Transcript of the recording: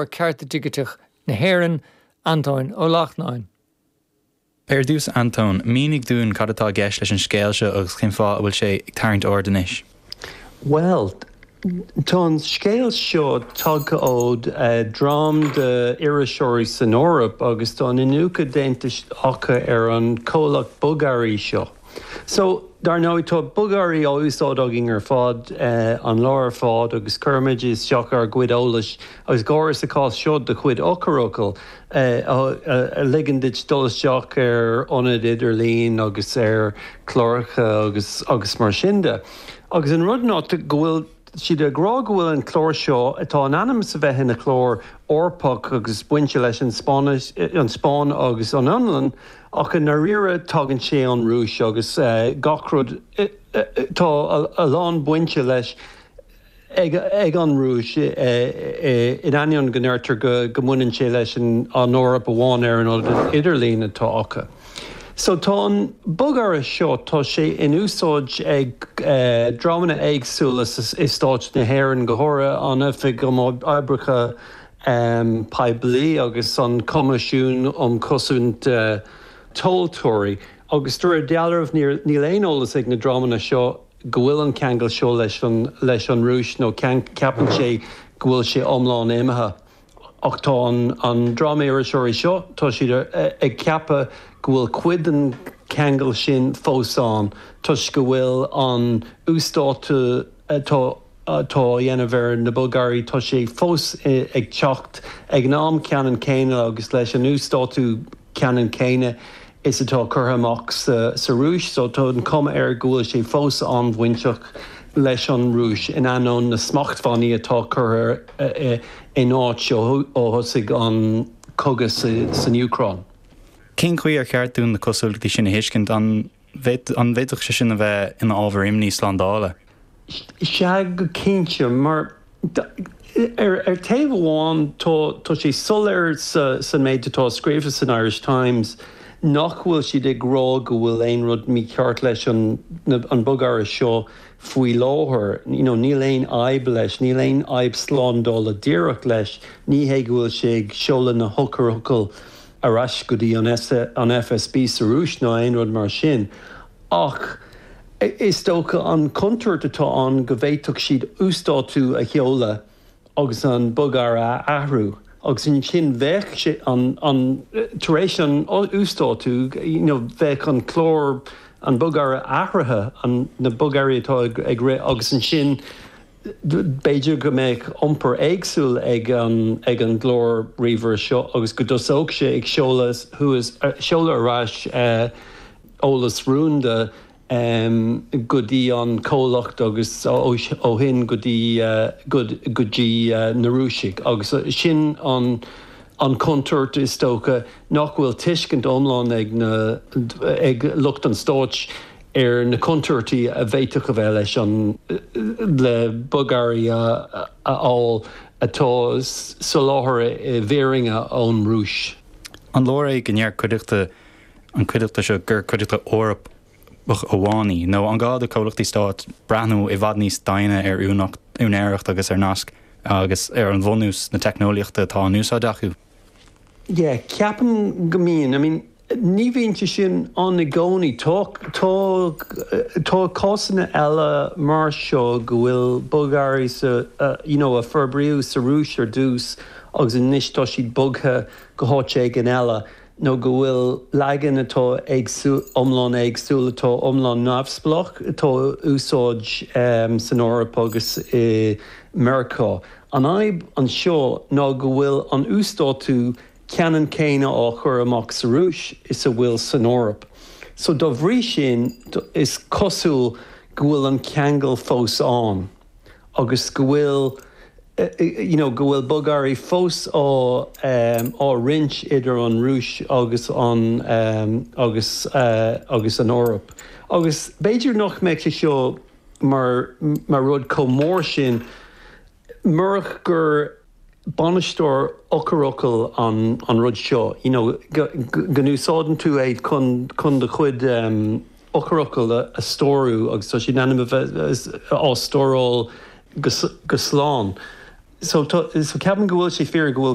Cearta Digiteach na hÉireann, Antóin Ó Lachtnáin. Ar dtús, Antóin, mínigh dúinn cad atá i gceist leis an scéal seo agus cén fáth a bhfuil sé ag tarraingt aird anois. Bhuel, tá an scéal seo tagtha ó dream d'iriseoirí san Eoraip agus tá an iniúchadh déanta acu ar an chomhlacht bogearraí seo. So, dar ndóigh, tá bogearraí á úsáid againn ar fad, an lá ar fad agus cuirimid isteach ár gcuid eolais agus go háirithe sa chás seo do chuid eochairfhocal a ligeann duit dul isteach ar ionaid idirlín agus ar chláracha agus agus mar sin de. Agus an rud ná go bhfuil siad ag rá go bhfuil an clár seo, atá in ainm is a bheith ina chlár Eorpach agus bainte leis an Spáinnis, an Spáinn agus an Fhionlainn, Ach i ndáiríre tagann sé ón Rúis agus gach rud, tá a lán bainte leis ag an Rúis in ainneoin go ndeirtear go mbaineann sé leis an Eoraip amháin ar an ionad idirlín atá acu. So tá an bogearra seo, tá sé in úsáid ag dreamanna éagsúla i Stáit na hÉireann, go háirithe an Oifig um Oibreacha Poiblí agus an Coimisiún um Chosaint Tomhaltóirí agus de réir dealraimh níl aon eolas ag na dreamanna seo go bhfuil an ceangal seo leis an leis an Rúis nó ceapann sé go bhfuil sé iomlán imithe. Ach tá an dream iriseoirí seo, tá siad ag ceapadh go bhfuil cuid den cheangal sin fós ann toisc go bhfuil an uasdátú atá atá á dhéanamh ar na bogearraí, tá sé fós ag teacht ag an am ceannann céanna agus leis an uasdátú ceannann céanna is atá curtha amach sa Rúis. So tá an chuma air go bhfuil sé fós an-bhainteach leis an Rúis in ainneoin na smachtbhannaí atá curtha in áit ó thosaigh an cogadh san Úcráin. Cén chaoi ar cheart dúinn na cosúlachtaí sin a thuiscint? An bhféadfadh sé sin a bheith ina ábhar imní slándála? Sea, go cinnte, mar ar taobh amháin tá sé soiléir san méid atá scríofa san Irish Times nach bhfuil siad ag rá go bhfuil aon rud mícheart leis an bogearra seo faoi láthair. You know, níl aon fhadhb leis, níl aon fhadhb slándála díreach leis, ní hé go bhfuil sé ag seoladh na heochairfhocail ar ais go dtí an FSB sa Rúis ná aon rud mar sin. Ach is dócha an chontúirt atá ann go bhféadfadh siad uasdátú a sheoladh agus an bogearra a athrú agus ansin bheadh sé an, an, tar éis an uasdátú, you know, bheadh an clár, an bogearra athraithe, an, na bogearraí atá ag rith agus ansin b'fhéidir go mbeadh iompar éagsúil ag an, ag an gclár ríomhaire seo agus go dtosódh sé ag seoladh thuas, seoladh ar ais eolas rúnda go dtí an comhlacht agus ó shin go dtí, go dtí na Rúisigh agus sin an, an chontúirt is dócha nach bhfuil tuiscint iomlán ag na, ag lucht an stáit ar na contúirtí a bhféadfadh a bheith leis an le bogearraí a fháil atá soláthartha i bhfírinne ón Rúis. An leor é go ndeir cuideachta an cuideachta seo gur cuideachta Eorpach amháin í, nó an gá do chomhlachtaí stáit breathnú i bhfad níos doimhne ar úinéireacht agus ar naisc agus ar an bhunús na teicneolaíochta atá in úsáid acu? Yeah, ceapaim go mbíonn. I mean, ní bhíonn sé sin ann i gcónaí. Tá, tá, tá cásanna eile mar seo go bhfuil bogearraí sa, you know, a forbraíodh sa Rúis ar dtús agus anois tá siad bogtha go háit éigin eile nó go bhfuil leagan atá éagsúil, iomlán éagsúil, atá iomlán neamhspleách atá á úsáid san Eoraip agus i Meiriceá. An fhadhb anseo ná go bhfuil an uasdátú ceannann céanna á chur amach sa Rúis is a bhfuil san Eoraip. So dá bhrí sin is cosúil go bhfuil an ceangal fós ann agus go bhfuil you know go bhfuil bogearraí fós á á roinnt idir an Rúis agus an agus agus an Eoraip. Agus b'fhéidir nach mbeadh sé seo mar mar rud chomh mór sin murach gur bainisteoir eochairfhocal an an rud seo, you know, go go n-úsáideann tú é chun chun do chuid eochairfhocal a stórú agus tá siad in ainm a bheith á stóráil go go slán. So, so ceapaim go bhfuil sé fíor go bhfuil.